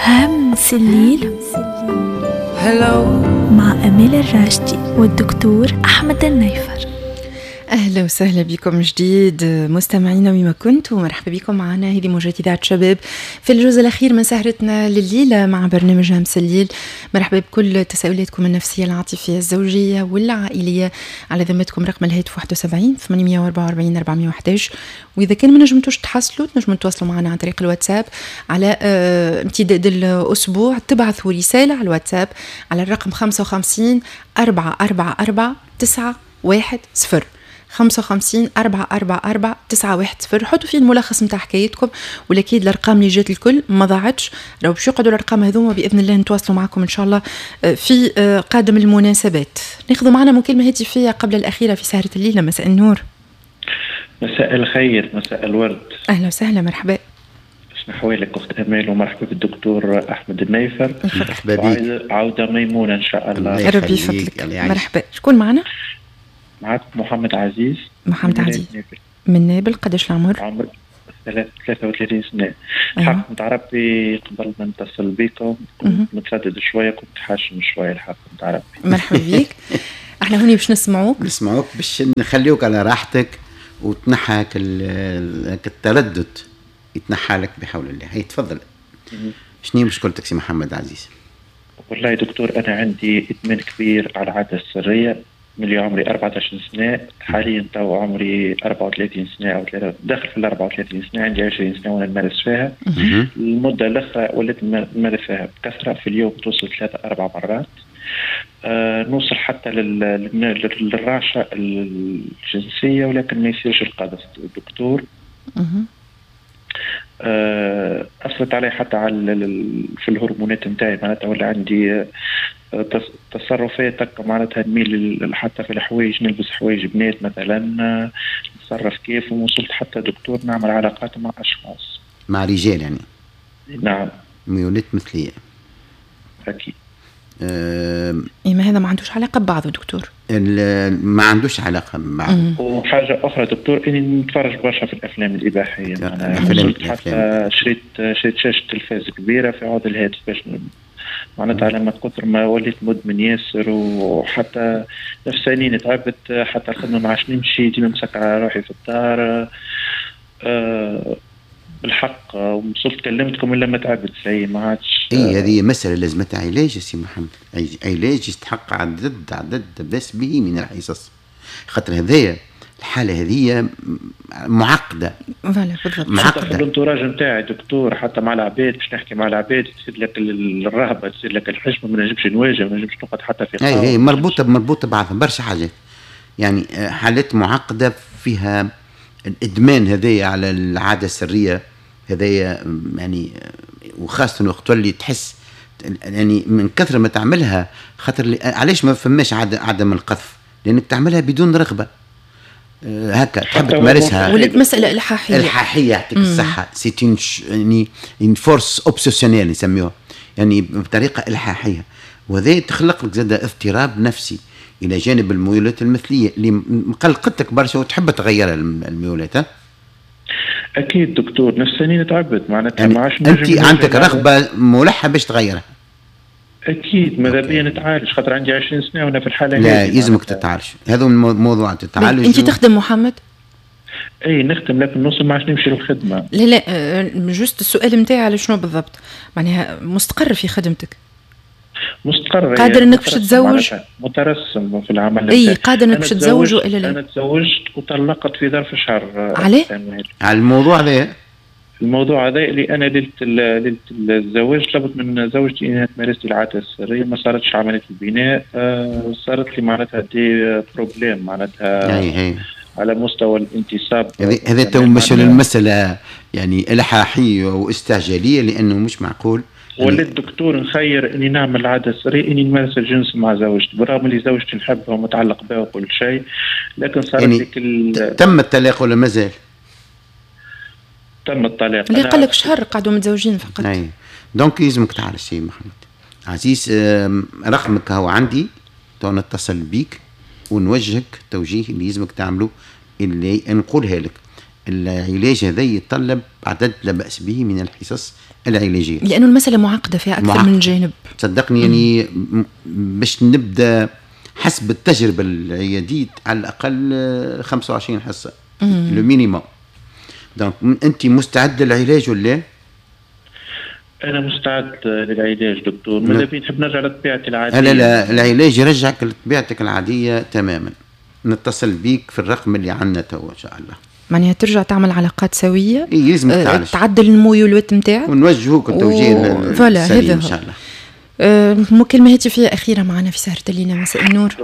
همس الليل مع أمال الراشدي والدكتور أحمد النيفر. أهلا وسهلا بكم جديد مستمعينا وما كنتم، مرحبا بكم معنا. هذه موجات إذاعة شباب في الجزء الأخير من سهرتنا لليلة مع برنامج همس الليل. مرحبا بكل تساؤلاتكم النفسية العاطفية الزوجية والعائلية. على ذمتكم رقم الهاتف 71 844 411، وإذا كان ما نجمتوش تحصلوا تنجموا تواصلوا معنا عن طريق الواتساب على امتداد الأسبوع. تبعثوا رسالة على الواتساب على الرقم 55 444 910 55 444 910. حطوا فيه الملخص نتاع حكايتكم، والاكيد الارقام اللي جات الكل ما ضاعتش، راهو باش يقعدوا الارقام هذوما باذن الله نتواصلوا معكم ان شاء الله في قادم المناسبات. ناخذوا معنا مكالمة هاتفيه قبل الاخيرة في سهره الليلة. مساء النور. مساء الخير، مساء الورد. اهلا وسهلا، مرحبا. شنو احوالك اخت امال؟ ومرحبا بالدكتور احمد النيفر. مرحبا بك، عوده ميمونة ان شاء الله. ربي يفضلك. مرحبا، شكون معنا؟ معك محمد عزيز. محمد عزيز من نابل. قداش العمر؟ عمر 33 سنة. الحق نتاع ربي قبل ما نتصل بكم كنت متردد شوية، كنت حاشم شوية الحق نتاع ربي. مرحبا بك. احنا هوني باش نسمعوك. نسمعوك باش نخليوك على راحتك وتنحى التردد، يتنحى لك بحول الله. هي تفضل. شنو مشكلتك سي محمد عزيز؟ والله يا دكتور أنا عندي إدمان كبير على العادة السرية من اللي عمري 14 سنة، حاليا تو عمري 34 سنة أو داخل في ال 34 سنة، عندي 20 سنة وأنا نمارس فيها. المدة الأخرى وليت نمارس فيها بكثرة، في اليوم توصل 3-4 مرات. نوصل حتى للرعشة الجنسية، ولكن ما يصيرش القذف دكتور. أثرت علي حتى على في الهرمونات نتاعي، معناتها ولا عندي تصرفات معناتها نميل حتى في الحوايج، نلبس حوايج بنات مثلا، نتصرف كيف، ووصلت حتى دكتور نعمل علاقات مع اشخاص، مع رجال يعني. نعم، ميولات مثليه. اكيد. إيه، ما هذا ما عندوش علاقة ببعضه دكتور. ما عندوش علاقة ببعضه. وحاجه اخرى دكتور، اني نتفرج برشا في الافلام الاباحية. الافلام حتى شريت شاشة تلفاز كبيرة في عوض الهاتف باش معناتها لما كثر ما وليت مدمن ياسر، وحتى نفساني تعبت، حتى الخدمة ما عادش نمشي، ديما مسكر على روحي في الدار. بالحق وصلت كلمتكم الا ما تعبت سي ما عادش. اي هذه مسألة لازمتها علاج يا سي محمد، علاج يستحق عدد بس به من الحصص، خاطر هذايا الحالة هذه معقدة. voilà بالضبط، معقدة. ال entourage نتاعي دكتور، حتى مع العباد باش نحكي مع العباد تصير لك الرهبة، تصير لك الحشمة، ما نجمش نواجه، ما نجمش نقعد حتى في قهوة. اي مربوطة ببعضها برشا حاجات، يعني حالات معقدة فيها الإدمان هذايا على العادة السرية هذايا، يعني وخاصة وقت تولي تحس يعني من كثرة ما تعملها، خاطر علاش ما فماش عدم القذف؟ لأنك تعملها بدون رغبة، هكا تحب تمارسها. ولات مسألة إلحاحية. إلحاحية، يعطيك الصحة. c'est يعني une force obsessionnelle يسميوها، يعني بطريقة إلحاحية، وهذا تخلق لك زاد اضطراب نفسي إلى جانب الميولات المثلية اللي مقلقتك برشا وتحب تغيرها الميولات. ها؟ أكيد دكتور، نفساني تعبت معناتها، يعني ما عادش أنت عندك رغبة ملحة باش تغيرها. أكيد، ماذا بيا نتعالج، خاطر عندي 20 سنة وأنا في الحالة هذه. لا يلزمك تتعالج، هذا موضوع تتعالج. أنت تخدم محمد؟ اي نخدم، لكن نوصل ما عادش نمشي للخدمة. لا لا، juste السؤال نتاعي على شنو بالضبط؟ معناها مستقر في خدمتك؟ مستقر، قادر انك باش تتزوج؟ مترسم في العمل. اي قادر انك باش تتزوج والا لا؟ انا تزوجت وطلقت في ظرف شهر. عليه؟ على الموضوع هذا؟ الموضوع هذا اللي انا ليلة الزواج طلبت من زوجتي انها تمارس لي العادة السرية، ما صارتش عملية البناء، صارت لي معناتها des problèmes معناتها. أي. على مستوى الانتصاب. هذا تو مش المسالة يعني الحاحيه واستعجاليه، لانه مش معقول. وليت دكتور نخير اني نعمل العادة السرية اني نمارس الجنس مع زوجتي، بالرغم اللي زوجتي نحبها ومتعلق بها وكل شيء، لكن صارت يعني تم الطلاق ولا مازال؟ تم الطلاق. اللي قال لك شهر قعدوا متزوجين فقط. اي donc يلزمك تعالج سي محمد عزيز. رقمك هو عندي، تو نتصل بيك ونوجهك توجيه اللي يلزمك تعمله، اللي نقولها لك. العلاج هذا يتطلب عدد لا بأس به من الحصص العلاجية، لانه المسالة معقدة فيها اكثر من جانب. صدقني يعني باش نبدا حسب التجربة العياديه على الاقل 25 حصة le minimum. donc انت مستعد للعلاج ولا؟ انا مستعد للعلاج دكتور، ماذا بي نحب نرجع لطبيعتي العادية. لا لا، العلاج يرجعك لطبيعتك العادية تماما. نتصل بيك في الرقم اللي عندنا تو ان شاء الله. معناها ترجع تعمل علاقات سويه؟ اي لازم تعالج، تعدل الميولات نتاعك ونوجهوك التوجيه السليم ان شاء الله. مكالمة هاتفية أخيرة معنا في سهرة الليلة. مساء النور.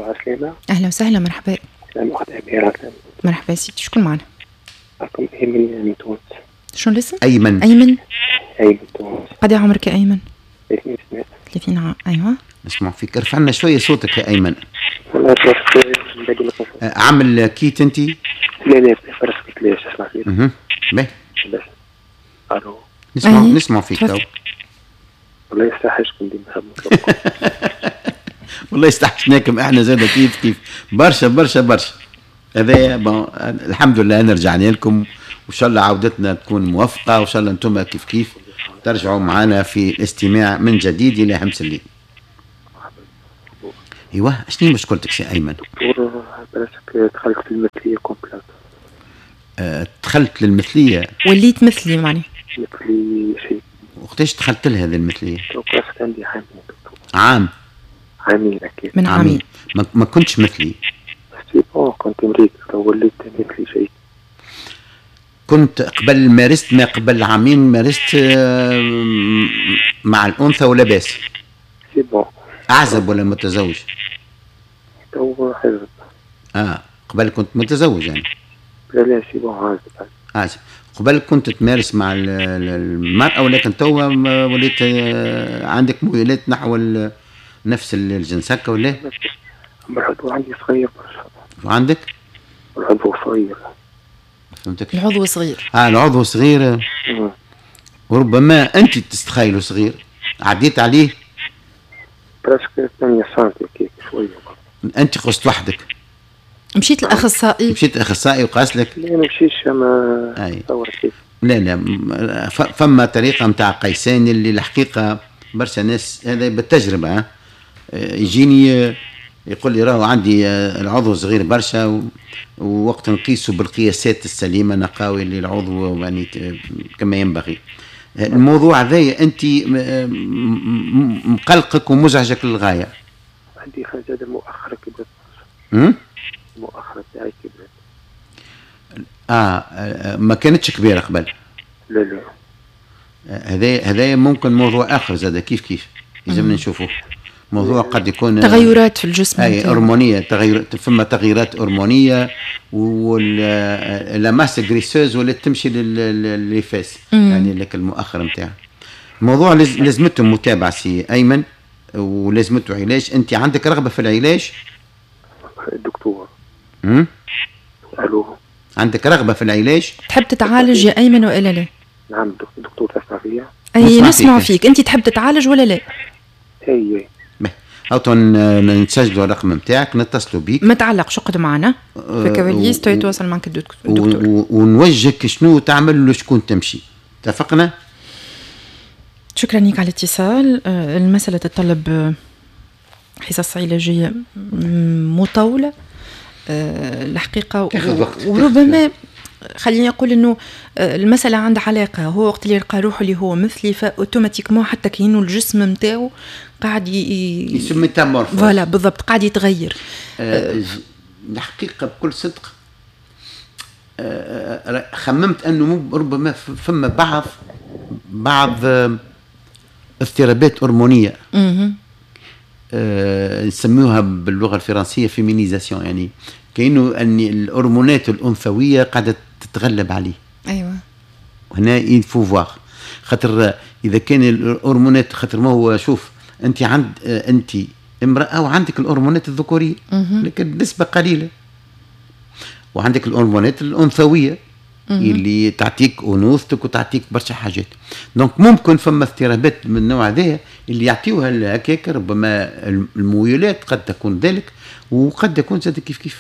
أهلا وسهلا، مرحبا. مرحبا سيدي، شكون معنا؟ معكم أيمن من تونس. شنو الاسم؟ أيمن. أيمن؟ أيمن تونس. قد عمرك يا أيمن؟ 30 سنة. 30 عام، أيوه. نسمع فيك، ارفع لنا شوية صوتك يا أيمن. والله عامل kit أنت؟ لا لا، فرسك ليش اسمع فيك. باهي. ألو. نسمع فيك تو. والله يستحشكم ديما نحب نطلبكم. والله استحشناكم احنا زاد كيف كيف برشا برشا برشا. هذا الحمد لله انا رجعنا لكم، وان شاء الله عودتنا تكون موفقة، وان شاء الله انتم كيف كيف ترجعوا معنا في الاستماع من جديد الى همس الليل. ايوه، شنو مشكلتك سي ايمن؟ دكتور براسك دخلت في المثلية complète. دخلت للمثليه؟ وليت مثلي معني. مثلي شيء. وقتاش دخلت لها هذه المثلية؟ عندي عامين دكتور. عام؟ عامين اكيد. من عامين. ما كنتش مثلي؟ c'est bon كنت مريض وليت مثلي شيء. كنت قبل مارست ما قبل عامين مارست مع الأنثى ولا باس؟ c'est bon. أعزب ولا متزوج؟ تو عزب. قبل كنت متزوج يعني؟ لا لا c'est bon عازب. عازب. قبل كنت تمارس مع المرأة، ولكن توا وليت عندك ميولات نحو نفس الجنس هكا ولا؟ العضو عندي صغير برشا. وعندك؟ العضو صغير. فهمتك؟ العضو صغير. العضو صغير. وربما أنت تستخيله صغير، عديت عليه؟ presque 8 سنتي كيك شوية. أنت قست وحدك؟ مشيت للاخصائي؟ مشيت للاخصائي وقاس لك؟ لا ما مشيتش، اما لا لا، فما طريقه نتاع قيسان اللي الحقيقة برشا ناس هذا بالتجربة يجيني يقول لي راهو عندي العضو صغير برشا، ووقت نقيسه بالقياسات السليمة نقاوي اللي العضو يعني كما ينبغي. الموضوع هذايا انت مقلقك ومزعجك للغاية. عندي حاجة مؤخره كبرت. المؤخرة تاعي كبرت. ما كانتش كبيرة قبل. لا لا. هذا ممكن موضوع آخر زاد كيف كيف لازمنا نشوفوه. موضوع قد يكون تغيرات في الجسم. أي هرمونية، تغير، فما تغييرات هرمونية، ولا masse graisseuse ولات تمشي les fesses يعني لك المؤخر نتاعها. الموضوع لازمته متابعة سي أيمن، ولازمته علاج. أنت عندك رغبة في العلاج؟ دكتور. الو. عندك رغبة في العلاج؟ تحب تتعالج يا ايمن والا لا؟ نعم دكتور تسمع فيا؟ اي نسمع فيك، انت تحب تتعالج ولا لا؟ اي. هاو نسجلوا الرقم نتاعك، نتصلوا بيك. ما تعلقش، اقعد معنا في الكواليس يتواصل معك الدكتور ونوجهك شنو تعمل وشكون تمشي. اتفقنا؟ شكرا لك على الاتصال. المسألة تتطلب حصص علاجية مطولة الحقيقة، وربما خليني أقول إنه المسألة عندها علاقة. هو وقت اللي يلقى روحه اللي هو مثلي ف automatiquement حتى كأنه الجسم نتاعو قاعد ي se métamorphose. voilà بالضبط، قاعد يتغير. الحقيقة بكل صدق خممت أنه ربما فما بعض اضطرابات هرمونية نسميوها باللغة الفرنسية féminisation، يعني كأنه أن الهرمونات الأنثوية قاعدة تتغلب عليه. أيوة. هنا il faut voir، خاطر إذا كان الهرمونات، خاطر ما هو شوف أنت عند أنت امرأة وعندك الهرمونات الذكورية لكن نسبة قليلة، وعندك الهرمونات الأنثوية اللي تعطيك انوثتك وتعطيك برشا حاجات. donc ممكن فما اضطرابات من النوع هذا اللي يعطيوها هكاك، ربما الميولات قد تكون ذلك، وقد يكون زاد كيف كيف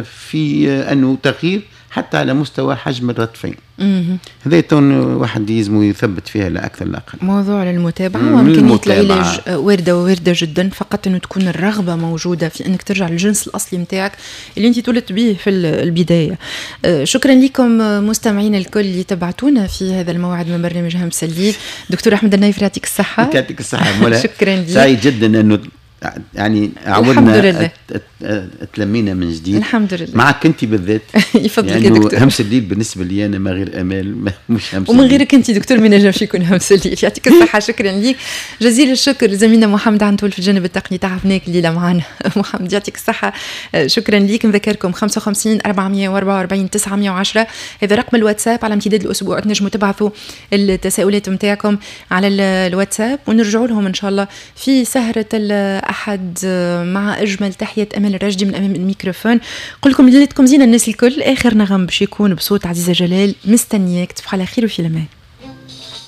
في انه تغيير حتى على مستوى حجم الرطفين. هذا تون واحد يلزم يثبت فيها لا اكثر لا اقل. موضوع للمتابعة وامكانية العلاج وارده وارده جدا، فقط انه تكون الرغبة موجودة في انك ترجع للجنس الاصلي نتاعك اللي انت تولدت به في البداية. شكرا لكم مستمعينا الكل اللي تبعتونا في هذا الموعد من برنامج همس الليل. دكتور احمد النايفري يعطيك الصحة. يعطيك الصحة مولا. شكرا لك. سعيد جدا انه يعني عودنا تلمينا من جديد الحمد لله معك انت بالذات. يفضلك يا دكتور. همس الليل بالنسبة لي انا ما غير امال مش همس ومن غيرك انت دكتور ما نجمش يكون همس الليل. يعطيك الصحة، شكرا لك جزيل الشكر لزميلنا محمد عنتول في الجانب التقني، تعبناك الليلة معنا محمد، يعطيك الصحة، شكرا لك. نذكركم 55 444 910 هذا رقم الواتساب على امتداد الاسبوع، تنجموا تبعثوا التساؤلات نتاعكم على الواتساب ونرجعوا لهم ان شاء الله في سهره الأحد مع أجمل تحية أمل الرشدي من أمام الميكروفون. قل لكم ليلتكم زينة الناس الكل. آخر نغم باش يكون بصوت عزيزة جلال، مستنياك، تصبحوا على خير وفي الأمان.